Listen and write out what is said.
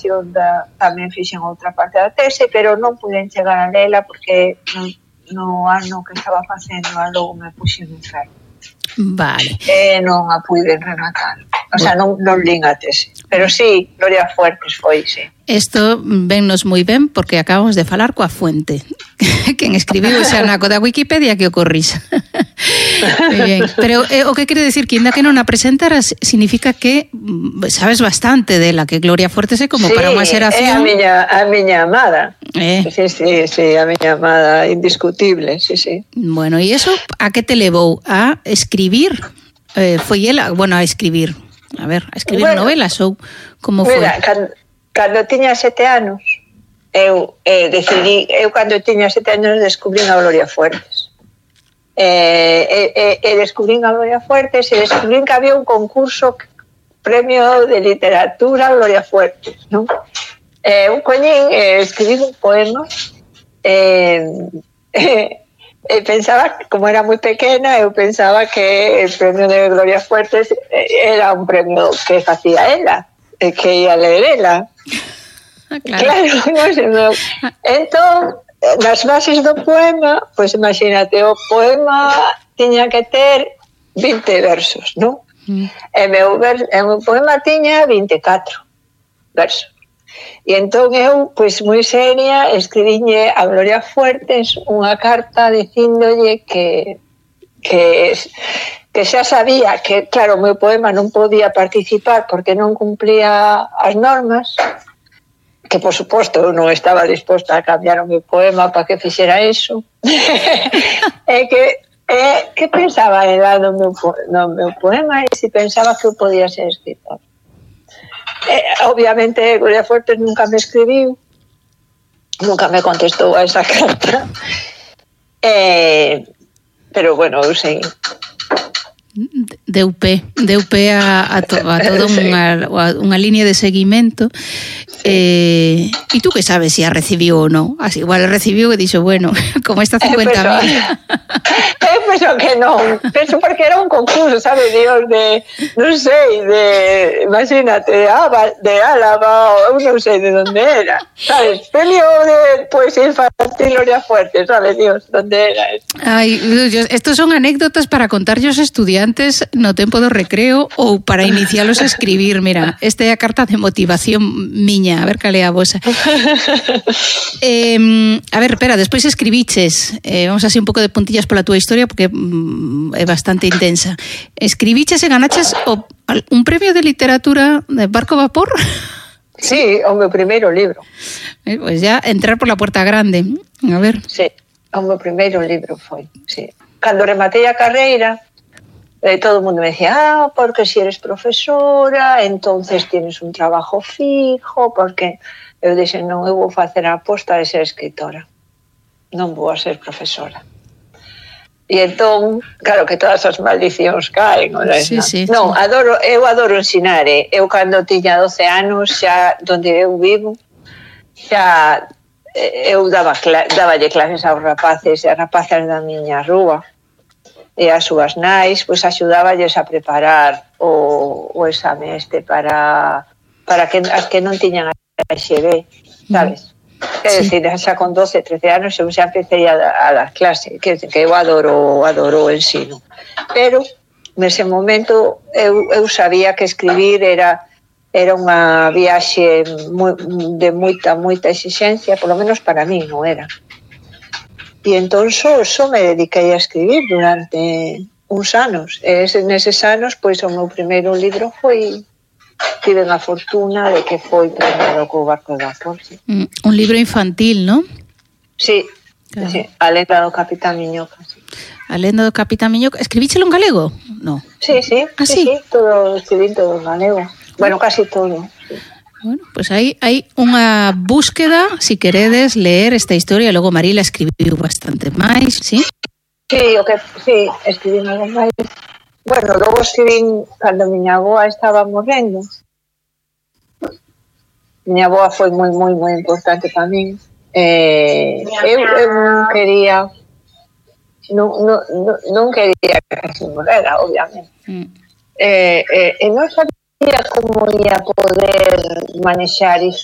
redacción tamén fixen outra parte da tese, pero non puden chegar a lela porque no ano que estaba facendo logo me puxen enfermo. Vale. Non a puiden rematar. O sea, non lín a tese. Pero sí, Gloria Fuertes foi, sí. Isto vennos moi ben porque acabamos de falar coa fuente. Quen escribiu ese anaco da Wikipedia que o corrisa. Bien. Pero o que quere decir que ainda que non a presentaras significa que sabes bastante dela, que Gloria Fuertes é como para unha xeración. Sí, a miña amada. Sí, a miña amada, indiscutible, sí. Bueno, e iso a que te levou a escribir? Foi ela, bueno, a escribir novelas ou como foi? Mira, cando tiña 7 anos, eu cando tiña 7 anos descubrín a Gloria Fuertes. Descubrín a Gloria Fuertes e descubrín que había un concurso premio de literatura Gloria Fuertes, non? Un coñín, escribí un poema pensaba, como era moi pequena, eu pensaba que el premio de Gloria Fuertes era un premio que facía ela, que ia ler ela. Claro, no. Entón, nas bases do poema, pois imagínate, o poema tiña que ter 20 versos, non? E meu poema tiña 24 versos. E entón eu, pois moi seria, escribiñe a Gloria Fuertes unha carta dicíndolle que xa sabía que, claro, o meu poema non podía participar porque non cumplía as normas, que por suposto eu non estaba disposta a cambiar o meu poema para que fixera eso. Que pensaba ela no meu poema e se pensaba que eu podía ser escritor. Obviamente Gloria Fuertes nunca me escribiu, nunca me contestou a esa carta, pero bueno, eu sei. Deu pé a toda unha línea de seguimento. E tú que sabes se a recibiu ou non? Así, igual a recibiu e dixo, bueno, como esta 50.000. Penso que non. Penso porque era un concurso, sabe, Dios, non sei, imagínate, de Álava, ou non sei de onde era, sabes? Premio de poesía infantil Gloria Fuertes, sabe, Dios, onde era eso. Ai, estos son anécdotas para contarlle aos estudiantes no tempo do recreo ou para inicialos a escribir. Mira, esta é a carta de motivación miña, a ver cal é a vosa. A ver, espera, despois escribiches, vamos así un pouco de puntillas pola túa historia porque é bastante intensa. Escribiches e ganaches un premio de literatura de Barco Vapor? Sí, o meu primeiro libro. Pues ya entrar por la puerta grande. A ver. Sí, o meu primeiro libro foi, sí. Cando rematei a carreira, todo o mundo me decía, porque si eres profesora, entonces tienes un trabajo fijo, porque eu dixen, non, eu vou facer a aposta de ser escritora, non vou a ser profesora. E entón, claro que todas as maldicións caen, sí. Non, eu adoro ensinar, eu cando tiña 12 anos, xa donde eu vivo, xa eu daballe clases aos rapaces e as rapaces da miña rúa, e as súas nais, pois axudáballes a preparar o exame para que as que non tiñan a XB, sabes? É dicir, xa con 12, 13 anos eu xa empecé a dar clase, que eu adoro o ensino. Pero, nese momento, eu sabía que escribir era unha viaxe de moita exixencia, por lo menos para mí non era. E entón só me dediquei a escribir durante uns anos. E neses anos, pois, o meu primeiro libro tive a fortuna de que foi premiado co Barco Vapor. Sí. Un libro infantil, non? Sí, claro. Sí, A lenda do Capitán Miñoca. Sí. A lenda do Capitán Miñoca. Escribíchelo en galego? No. Sí. Escribí todo en galego. Bueno, casi todo. Sí. Bueno, pues hai unha búsqueda, si queredes ler esta historia, logo Marila escribiu bastante máis, sí? Sí, escribí algo máis. Bueno, logo escribí cando miña avoa estaba morrendo. Miña avoa foi moi importante para min. Eu non quería que se morrera, obviamente. Non sabía como ia poder manexar iso.